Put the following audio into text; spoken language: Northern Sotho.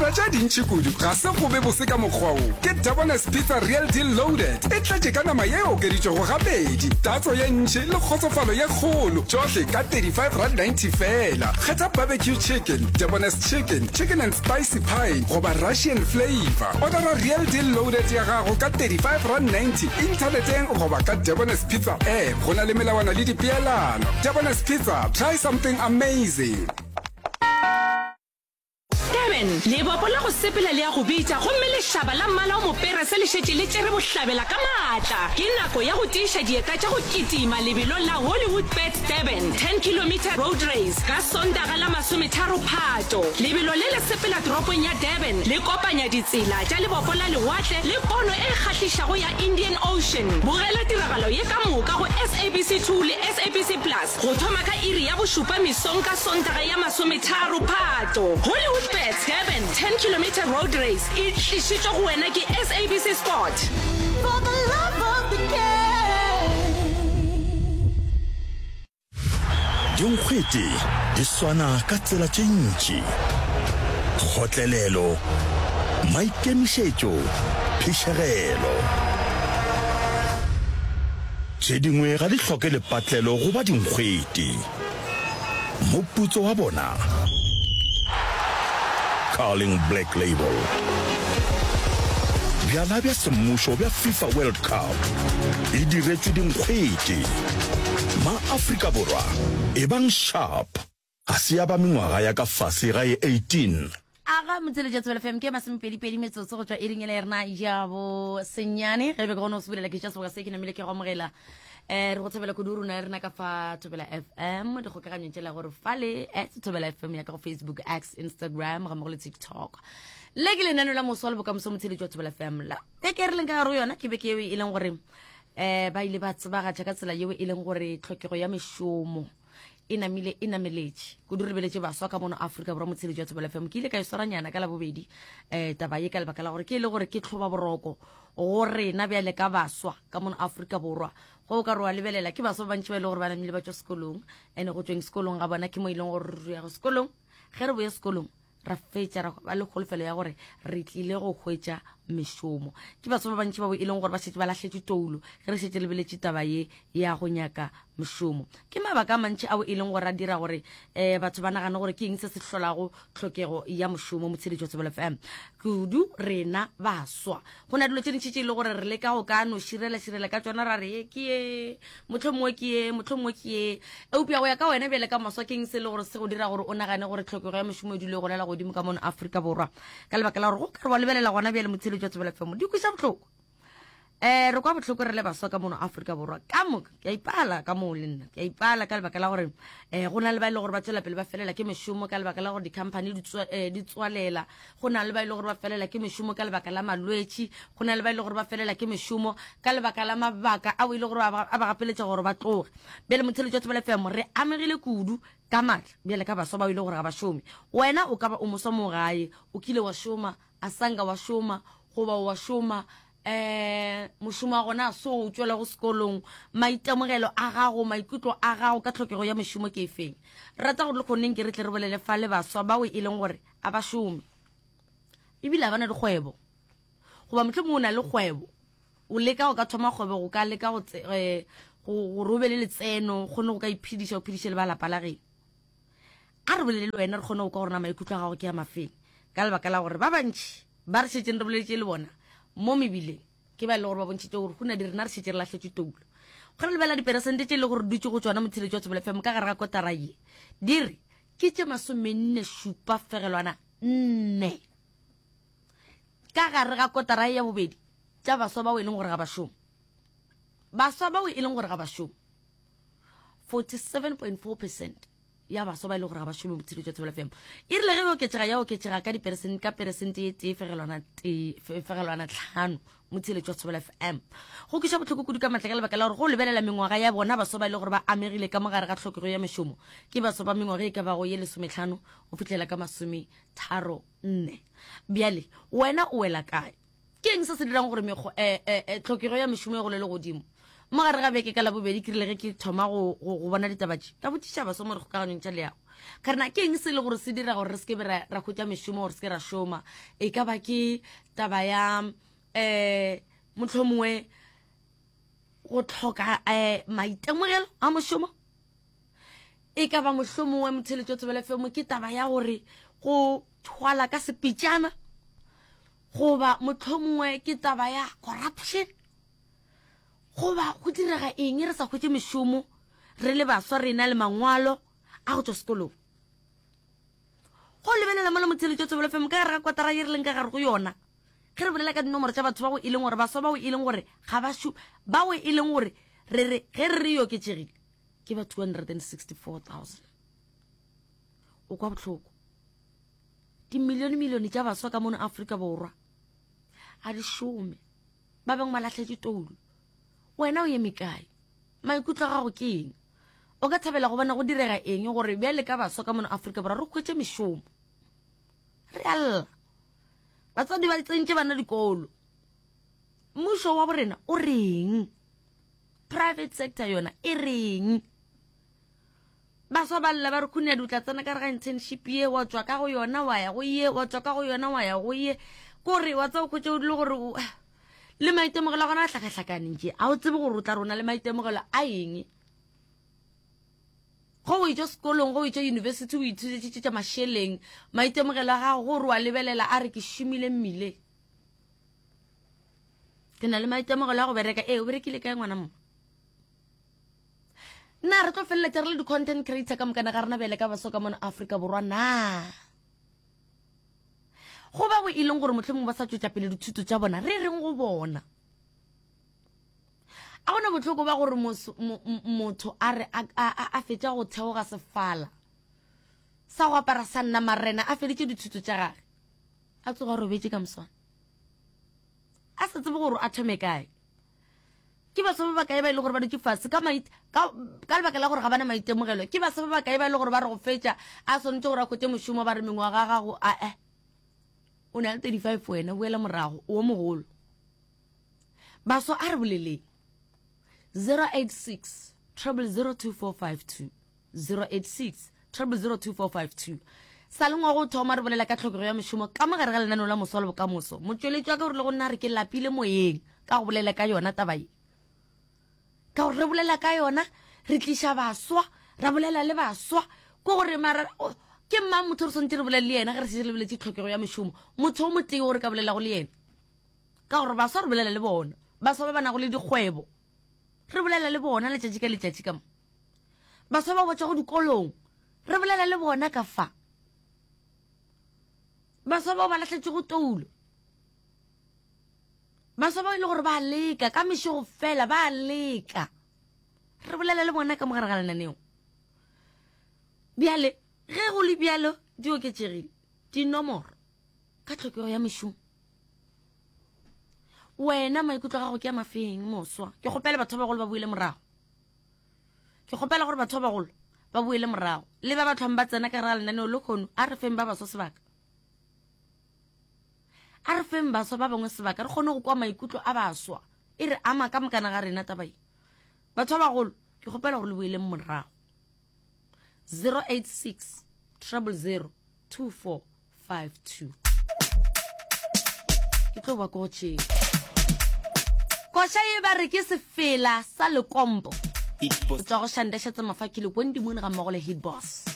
dira tše dintši kudu ga se go be bose ka mokgwa wo. Ke Debonair's Pizza Real Deal Loaded. E tletše ka nama ye e okeditšwego gabedi, tatso ye ntši le kgotsofalo ye kgolo, tšohle ka R35.90 feela. Kgetha barbecue chicken, Debonair's chicken, chicken and spicy pie goba Russian flavour. Odara Real Deal Loaded ya gago ka R35.90 inthaneteng goba ka Debonair's Pizza app. Go na le melawana le dipeelano. Debonair's Pizza, try something amazing. Durban, Lebopo la go sepela le a go bitša gomme lešaba la mmala o moperese le šetše le tšere bohlabela ka maatla. Ke nako ya go tiiša dieta tša go kitima lebelong la Hollywoodbets Durban 10 Kilometre Road Race ka Sontaga la masometharo Phato. Lebelo le le sepela toropong ya Durban le kopanya ditsela tša lebopo la lewatle le pono e kgahlišago ya Indian Ocean. Bogela tiragalo ye ka moka go SABC 2 le SABC Plus. Go thoma ka iri ya bošupa mesong ka Sontaga ya masometharo Phato, Hollywoodbets Durban 10 Kilometre Road Race e tlišitšwe go wena ke SABC Sport. For the love of the game. Dinkgwete di swana ka tsela tše ntši, kgotlelelo, maikemišetšo, phišegelo. Tše dingwe ga di hloke lepatlelo go ba dinkgwete. Moputso wa bona? Carling Black Label. Bjala bja semmušo bja FIFA World Cup e diretšwe dinkgwete. Ma-Afrika Borwa, ebang sharp! Ga se ya ba mengwaga ya ka fase ga ye 18. Aga motseletša Tsebelo FM ke masomepedipedi metsotso go tšwa iring ele ya rena ya bo senyane ge be ke gone go sebulela ke tša seboka se ke namile ke go amogela um re go thabela kudu rona rena ka fa thobela fm dikgokaganyo tšela gore fale at thobela fm ya ka go facebook x instagram ga mmogo le tiktok le ke lenano la moswa le bokamoso motsheletši wa thobela fm la beke e re leng ka gare go yona ke beke eo e leng gore um ba ile ba tsebagatša ka tsela yeo e leng gore tlhokego ya mešomo e namile e nameletše kudu re lebeletše baswa ka mono Afrika Borwa motsheletši wa Thobela FM ke ile ka e swaranyana ka labobedi um taba ye ka lebaka la gore ke e le gore ke tlhoba boroko go rena bjale ka baswa ka mono Afrika Borwa go o ka re wa lebelela ke baswa ba bantši ba e le gore ba namile ba tšwa sekolong and go tšweng sekolong ga bona ke mo e leng gore re ya go sekolong ge re boye sekolong ra fetša ra ba le kholofelo ya gore re tlile go hwetša mešomo. Ke batho ba bantši bao e leng gore ba šetše ba lahletše toulo ge re šetše lebeletše taba ye ya go nyaka mešomo. Ke mabaka a mantši ao e leng gore a dira gore um batho ba nagane gore ke eng se se hlolago tlhokego ya mošomo. Motsheletši wa Thobela FM, kudu rena baswa go na dilo tše dintši tše e le gore re leka go ka no širela širela ka tšona ra re ye ke ye mohlomongwe ke ye mohlomongwe ke ye eupša go ya ka wena bjale ka moswa ke eng se e le gore se go dira gore o nagane gore tlhokego ya mošomo e dule e golela godimo ka mono Afrika Borwa ka lebaka la gore go ka re wa lebelela gona bjale motsheletši wa Thobela FM di kweša bohloko um re kwa bohloko re le baswa ka mono Afrika Borwa ka moka ke a ipala ka moo le nna ke a ipala ka lebaka la gore um go na le ba e le gore ba tswela pele ba felela ke mešomo ka lebaka la gore di-company di eh, tswalela go na le ba e le gore ba felela ke mešomo ka lebaka la malwetši go na le ba e le gore ba felela ke mešomo ka lebaka la mabaka ao e le gore a ba gapeletša gore ba tloge bjale motheletši wa Thobela FM re amegile kudu ka maatla bjale ka baswa bao e le gore ga ba šome wena o ka ba o moswa mo gae o kile wa šoma a sanka wa šoma goba wa šoma um mošomo wa gona so o tšwelago sekolong maitemogelo a gago maikutlo a gago ka tlhokego ya mešomo ke efeng rata gore le kgoneng ke re tle re bolele fa le baswa bao e leng gore a ba šome ebile a ba na dikgwebo goba mohlomongwe o na le kgwebo o leka go ka thoma kgwebo go ka leka go eh, gore o be le letseno kgone go ka iphediša o phediše le ba lapa la geno a re bolele le wena re kgone go kwa gore na maikutlo a gago ke a mafeng ka lebaka la gore ba bantši ba re šetšeng re boletše le bona mo mebileng ke ba e le gore ba bontšhitše gore go na di rena re šetše re lahletše toulo ge re lebelela diperesente tše e le gore dutše go tšona motheletši wa Thobela FM ka gare ga kotara ye di re ke tše masomenne šupa fegelwana nne ka gare ga kotara ya bobedi tša baswa bao e leng gore ga ba šome baswa bao e leng gore ga ba šome 47.4 percent ya baswa ba e leng gore ga ba šome botshelo jwa Thobela FM e rile ge e oketšega ya oketšega ka diperesente ka peresente ye tee fegelwana tee fegelwana tlhano motsheletši wa Thobela FM go kweša bohloko kudu ka matla ka lebaka la gore go lebelela mengwaga ya bona baswa ba e le gore ba amegile ka mogare ga tlhokego ya mešomo ke baswa ba mengwaga e ka bago ye lesometlhano go fihlela ka masometharo nne bjale wena o wela kae Ke eng se se dirang gore mekgo, eh, eh, eh, tlhokego ya mešomo e golele godimo? Mo gare ga beke ka Labobedi ke rile ge ke thoma go, go, go bona ditaba tše, ka botšiša baswa mo dikgokaganyong tša leago. Ka rena ke eng se le gore se dira gore re se ke be ra ra hwetša mešomo gore se ke ra šoma? E ka ba ke taba ya um mohlomongwe go tlhoka um maitemogelo a mošomo? E ka ba mohlomongwe motheletšo Thobela FM ke taba ya gore go thwala ka sepitšana goba mohlomongwe ke taba ya corruption goba go direga eng re sa hwetše mešomo re le baswa re na le mangwalo a go tšwa sekolong go lebelela mo le motheletšo Thobela FM ka gare ga kwatara ye re leng ka gare go yona ge re bolela ka dinomoro tša batho bao e leng gore baswa bao e leng gore ga ba šo bao e leng gore re re ge re re oketšegile ke ba 264,000 o kwa bohloko dimilione milione tša baswa ka mono Afrika Borwa a di šome ba bangwe ba lahletše toulo wena o eme kae maikutlo a gago ke eng o ka thabela go bona go direga eng gore bjale ka baswa ka mono Afrika Borwa re hwetše mešomo re a lla batswadi ba tsentše bana dikolo mmušo wa borena o reng private sector yona e reng baswa ba lla ba re khunedi o tla tsena ka re ga internship ye wa tswa ka go yona wa ya go ye wa tswa ka go yona wa ya go ye kore wa tsa o khwetša o dile gore le maitemogelo a gona a hlakahlakane tše a o tsebe gore o tla rona le maitemogelo a eng go o itšwa sekolong go o itšwa university o ithutetše tša mašeleng maitemogelo a gago gore wa lebelela a re ke šomile mmileng ke na le maitemogelo a go bereka ee o berekile kae ngwana mma na re tlo feleletša re le di-content creator ka mokana ga rena bjale ka baso ka mona Afrika Borwa na go ba go e leng gore mohlomongwe ba sa tšwetša pele dithuto tša bona re reng go bona a gona bohloko ba gore motho a re a fetša go theoga sefala sa go apara sa nna marena a feditše dithuto tša gage a tsoga robetše ka moswana a sa tsebe gore a thome kae ke baswa ba bakae ba e le gore ba dutše fase ka ka ka lebaka la gore ga bana maitemogelo ke baswa ba bakae ba e le gore ba re go fetša a swanetše gore a hwetše mošomo ba re mengwaga gago a e o na le 35 wena boela morago o mogolo baswa a re boleleng 086 0002452 086 0002452 sa le ngwago o thoma re bolela ka tlhokego ya mešomo ka mogare ga lenaneo la moswa le bokamoso motšweletši wa ka o rile go nna re ke lapile moyeng ka go bolela ka yona taba ye ka gore re bolela ka yona re tliša baswa ra bolela le baswa ko gore mara ke mang motho re swanetše re bolele le yena ge re setse lebeletše tlhokego ya mešomo motho o motee o re ka bolelago le yena ka gore baswa re bolela le bona baswa ba ba nago le dikgwebo re bolela le bona letšatši ka letšatši ka mo baswa ba botšago dikolong re bolela le bona ka fa baswa bao ba lahletšego toulo baswa bao e le gore ba leka ka mešego fela ba leka re bolela le bona ka mogare ga lenaneo bjale ge go le bjalo di oketšegile dinomoro ka tlhokego ya mešomo wena maikutlo a gago ke a mafeng moswa ke kgopela batho ba bagolo ba boile morago ke kgopela gore batho ba bagolo ba boele morago le ba ba tlhwang ba tsena ka gare ga lenaneo le kgono a re feng ba baswa sebaka a re feng baswa ba bangwe sebaka re kgone go kwa maikutlo a baswa e re ama ka mokana ga rena taba ye batho ba bagolo ke kgopela gore le boeleng morago 086 000 24 52 ke tlo ba ko tšeo koša ye ba re ke sefela sa lekompo go tswa go shandešetsa mafakile kwendi moon ga mmogo le hit boss.